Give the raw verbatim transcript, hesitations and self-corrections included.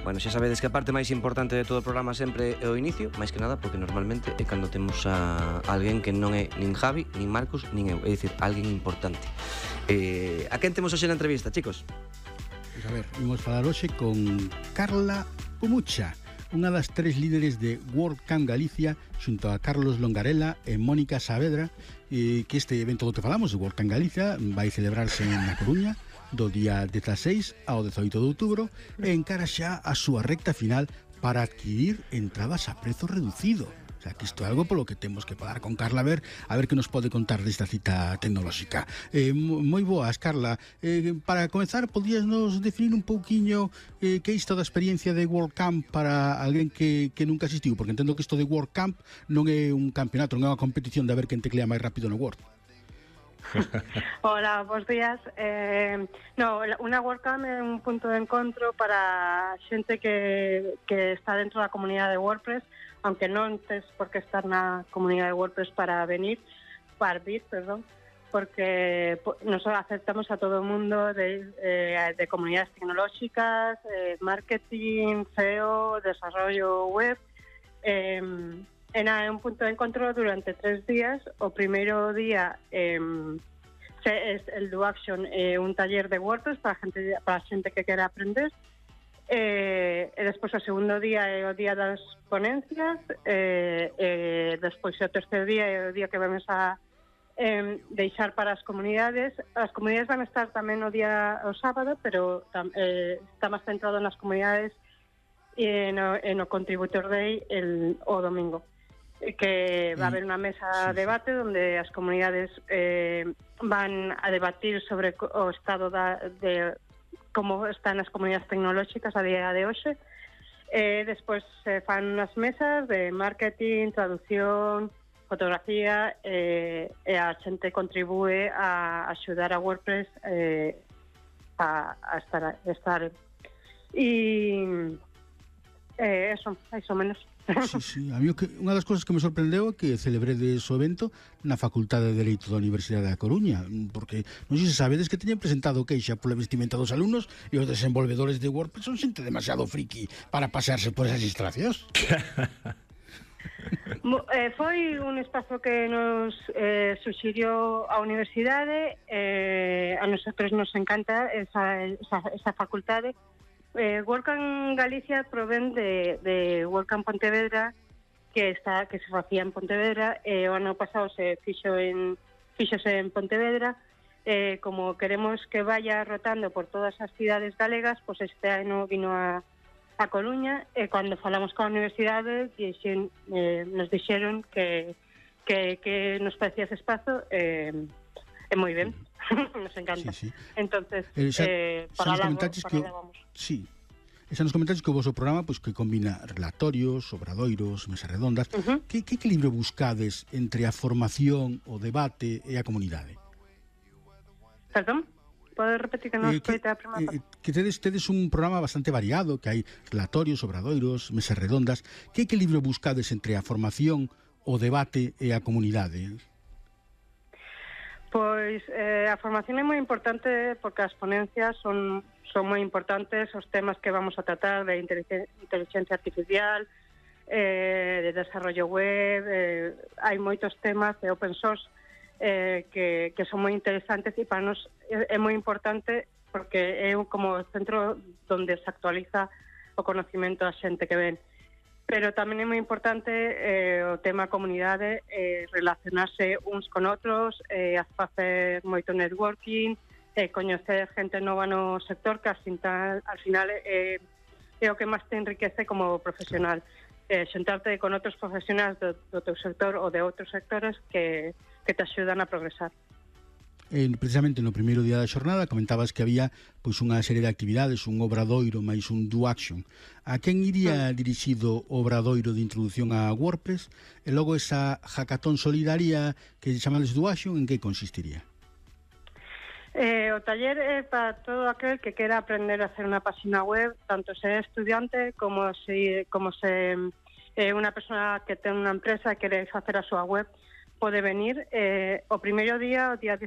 Bueno, xa sabedes que a parte máis importante de todo o programa sempre é o inicio, máis que nada porque normalmente é cando temos a alguén que non é nin Javi, nin Marcos, nin eu, é dicir, alguén importante. Eh, a quen temos hoxe na entrevista, chicos? Pois a ver, vamos falar hoxe con Carla Pumucha, unha das tres líderes de WordCamp Galicia, xunto a Carlos Longarela e Mónica Saavedra, eh, que este evento do que falamos, de WordCamp Galicia, vai celebrarse na Coruña do día dezaseis ao dezoito de outubro e encara xa a súa recta final para adquirir entradas a prezo reducido. O sea, que isto é algo polo que temos que falar con Carla a ver, a ver que nos pode contar desta cita tecnolóxica. Eh, moi boas, Carla. Eh, para comezar, podías nos definir un pouquiño eh, que é isto da experiencia de WordCamp para alguén que, que nunca asistiu? Porque entendo que isto de WordCamp non é un campeonato, non é unha competición de a ver quen teclea máis rápido no Word. Hola, bons días. Eh, no, unha WordCamp é un punto de encontro para xente que, que está dentro da comunidade de WordPress, aunque non tes por que estar na comunidade de WordPress para venir, para vir, perdón, porque nos aceptamos a todo o mundo de, eh, de comunidades tecnolóxicas, eh, marketing, S E O, desarrollo web. Eh, É un punto de encontro durante tres días. O primeiro día eh, é el Do Action, eh, un taller de WordPress para a gente, para a xente que quera aprender. Eh, e despois o segundo día é o día das ponencias. Eh, eh, despois o terceiro día é o día que vamos a eh, deixar para as comunidades. As comunidades van a estar tamén o día o sábado, pero tam, eh, está máis centrado nas comunidades e no, e no Contributor Day el, o domingo, que va a haber unha mesa de debate onde as comunidades eh, van a debatir sobre o estado da, de como están as comunidades tecnolóxicas a día de hoxe. Eh, despois se fan unhas mesas de marketing, traducción, fotografía, eh, e a xente contribúe a axudar a WordPress eh, a, a estar, a estar e eh, eso, eso menos. Sí, sí, a mí que, unha das cousas que me sorprendeu é que celebredes o evento na Facultade de Dereito da Universidade da Coruña, porque non sei se sabedes que teñen presentado queixa pola vestimenta dos alumnos e os desenvolvedores de WordPress son xente demasiado friki para pasearse por esas instalacións. eh, foi un espazo que nos eh, suxirió a universidade. Eh, a nosotros nos encanta esa, esa, esa facultade. Eh, WordCamp Galicia provén de, de WordCamp Pontevedra, que está que se facía en Pontevedra. Eh, o ano pasado se fixo en fixose en Pontevedra. Eh, como queremos que vaya rotando por todas as cidades galegas, pois pues este ano vino a, a Coruña, e eh, cando falamos coa universidade dixen, eh, nos dixeron que, que, que nos parecía ese espazo eh, é moi ben. Nos encanta. Sí, sí. Entonces, eh, xa, eh, para xa lá que, vamos. Sí. E xa nos comentaches que o vosso programa pois, que combina relatorios, obradoiros, mesas redondas. Uh-huh. Que, que equilibrio buscades entre a formación, o debate e a comunidade? Perdón? Podes repetir que non eh, escoita a primeira parte? Eh, que tedes, tedes un programa bastante variado, que hai relatorios, obradoiros, mesas redondas. Que equilibrio buscades entre a formación, o debate e a comunidade? Pois eh, a formación é moi importante porque as ponencias son, son moi importantes, os temas que vamos a tratar de inteligencia artificial, eh, de desarrollo web, eh, hai moitos temas de open source eh, que, que son moi interesantes, e para nos é, é moi importante porque é como o centro onde se actualiza o conocimento da xente que ven. Pero tamén é moi importante eh, o tema comunidade, eh, relacionarse uns con outros, eh, facer moito networking, eh, coñecer gente nova no sector, que al final, al final eh, é o que máis te enriquece como profesional. Eh, xentarte con outros profesionais do, do teu sector ou de outros sectores que, que te axudan a progresar. Eh, precisamente no primeiro día da xornada comentabas que había pois unha serie de actividades, un obradoiro máis un do action. A quen iría dirixido o obradoiro de introducción a WordPress e logo esa hackathon solidaria que chamades do action, en que consistiría? Eh, o taller é para todo aquel que quera aprender a hacer unha página web, tanto se é estudiante como se como se é eh, unha persona que ten unha empresa e quere facer a súa web, pode venir. Eh, o primeiro día, o día